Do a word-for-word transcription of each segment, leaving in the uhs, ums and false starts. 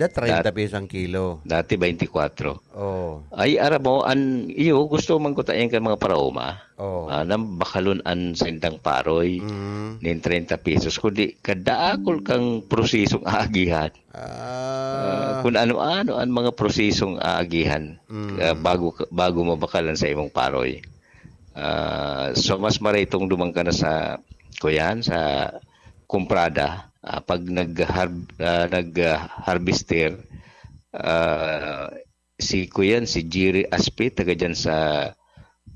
Sa treinta Dat- pesos ang kilo. Dati, twenty-four. Oh. Ay, aram mo, an, iyo, gusto man ko tayan kan mga paraoma. Oh. Ah, nang bakalon an saindang paroy, Mm. nin treinta pesos. Kundi, kadaakol kang prosesong aagihan. Ah. Ah, kung ano-ano ang mga prosesong aagihan, Mm. ah, bago ka, bago mabakalan sa imong paroy. Ah, so, mas maray itong duman ka na sa, kuyan, sa kumprada, ah, pag nag-harb-, ah, nag, ah, harvester, ah, si kuyan, si Jerry Aspe, taga dyan sa,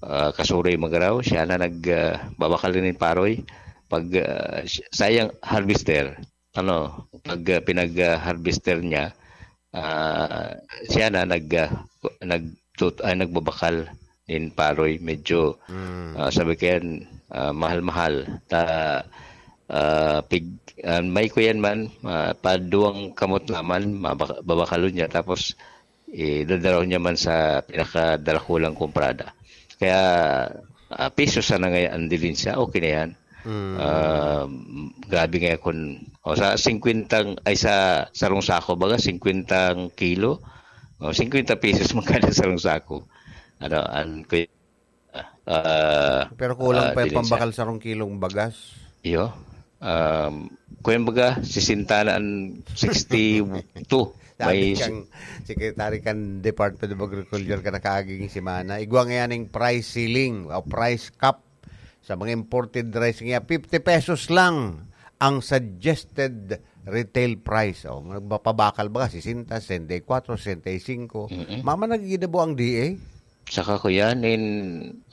ah, Kasuroy, Magarao, siya na nag, ah, babakal nin paroy. Pag, ah, si-, sayang harvester, ano, pag, ah, pinag, ah, harvester niya, ah, siya na nag, ah, nagtut-, ay, nagbabakal nin paroy. Medyo, Mm. ah, sabi ko yan, ah, mahal-mahal. Ta-, ah, pig-, ah, may kuyan man, ah, paduwang kamot naman, mabak-, babakalon niya. Tapos, eh, dadalahon niya man sa pinakadarakulang kumprada. Kaya, ah, piso sana ngayon ang dilin siya, okay na yan. Mm. Ah, grabe nga kun, o, sa singkwentang, ay, sa sarong sako, baga, singkwentang kilo, o, singkwenta pesos man kada sarong sako. Ano, ang kuy-, ah, Pero kulang ah, pa yung dilin siya. Pambakal sarong kilong bagas. Iyo. Um, kuyan baga, sisenta na an sixty-two. Sabi May si- kang secretary kan Department of Agriculture ka nakaaging semana, igwa ngayon ang price ceiling o price cap sa mga imported rice niya, fifty pesos lang ang suggested retail price. O, magpapabakal baga, sesenta, sesenta y cuatro, sesenta y cinco. Mm-mm. Mama, nagigidabo ang D A? Saka ko yan in,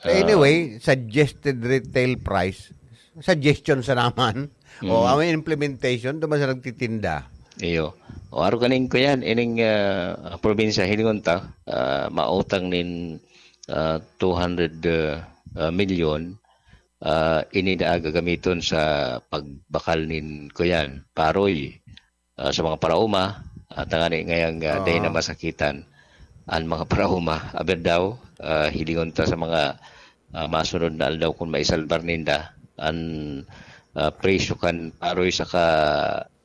ah, Anyway, suggested retail price, suggestion sa naman. O, Mm. ang implementation, duman sa nagtitinda. Iyo. O, aro kanin ko yan, ining, ah, probinsya, hilingon ta, ah, mautang nin, ah, two hundred, ah, ah, milyon, ah, ini na gagamiton sa pagbakal nin, kuyan, paroy. Ah, sa mga paraoma, ah, tangani ngayang, ah, dai na masakitan an mga paraoma. Aber daw, ah, hilingon ta sa mga, ah, masunod na aldaw kun maisalbar ninda an, ah, presyo kan paroy saka,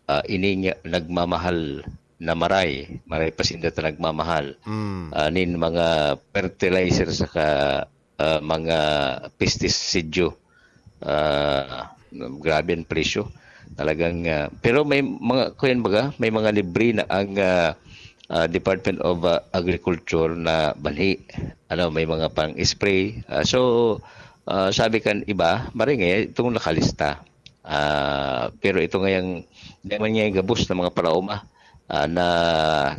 ah, ining nagmamahal na maray, maray pa sinda ta nagmamahal, Mm. ah, nin mga fertilizer saka ah, mga pestisidyo. Ah, grabe ang presyo. Talagang, ah, pero may mga, kuyan baga, may mga libre na ang, ah, ah, Department of, ah, Agriculture na banhi. Ano, may mga pang-spray. Ah, so, ah, sabi kan iba, maringay itong nakalista. Ah, pero ito ngayang, di man niya gabos na mga paraoma, ah, na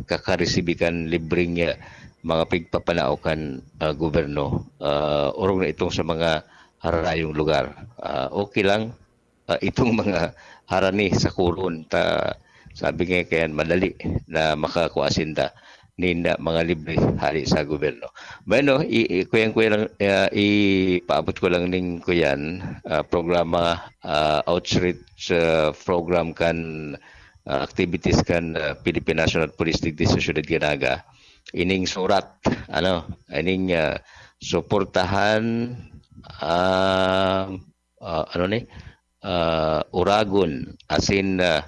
kakaresibi kan libreng, ah, mga pigpapanao kan, ah, gobyerno. Ah, orog na itong sa mga harayong lugar. Ah, okay lang, ah, itong mga harani sa kulon. Ta, sabi nga kaya madali na makakuha sinda nin, ah, mga libre hali sa gobyerno. Bueno, i-, i-, kuyan-kuyan lang, ah, ipaabot ko lang ning kuyan, ah, programa, ah, outreach, ah, program kan, ah, activities kan, ah, Philippine National Police digdi sa Siyudad kan Naga. Ining surat, ano, ining, ah, suportahan, ah, ah, ano ni, ah, uragon, asin, ah,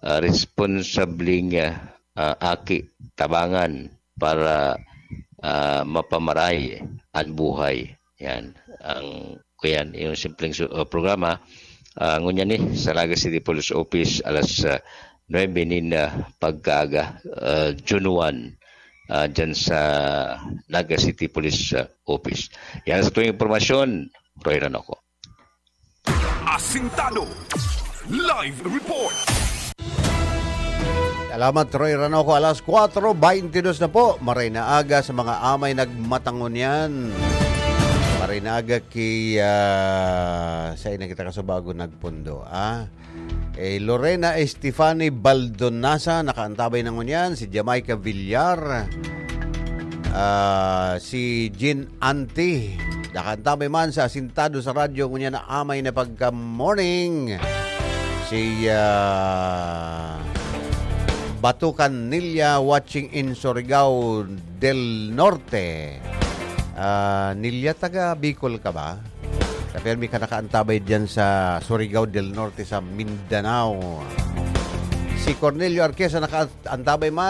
ah, responsabling, ah, ah, aki, tabangan para, ah, mapamaray an buhay. Yan, ang, kuyan, yung simpleng su-, ah, programa. Ah, ngunyan ni, sa Naga City Police Office, alas, ah, nuebe nin, ah, pagkaaga, ah, June one, ah, dyan sa Naga City Police, ah, Office. Yan sa tuwing impormasyon, Roy Ranoco. Asintado. Live report. Salamat, Roy Ranoco. Alas kwatro beintidos na po. Maray na aga sa mga amay nagmatangon yan. Maray na aga ki, ah, sa ina kita kasubago nagpundo, ah. Eh, Lorena Estefani Baldonasa, nakaantabay na ngunyan. Si Jamaica Villar. Ah, si Jean Anti, nakaantabay man sa Asintado sa Radyo ngunyan na amay na pagka-morning. Si, ah, Batukan Nilia watching in Surigao del Norte. Ah, Nilia, taga Bicol ka ba? Sa permi ka nakaantabay dyan sa Surigao del Norte sa Mindanao. Si Cornelio Arquesa nakaantabay man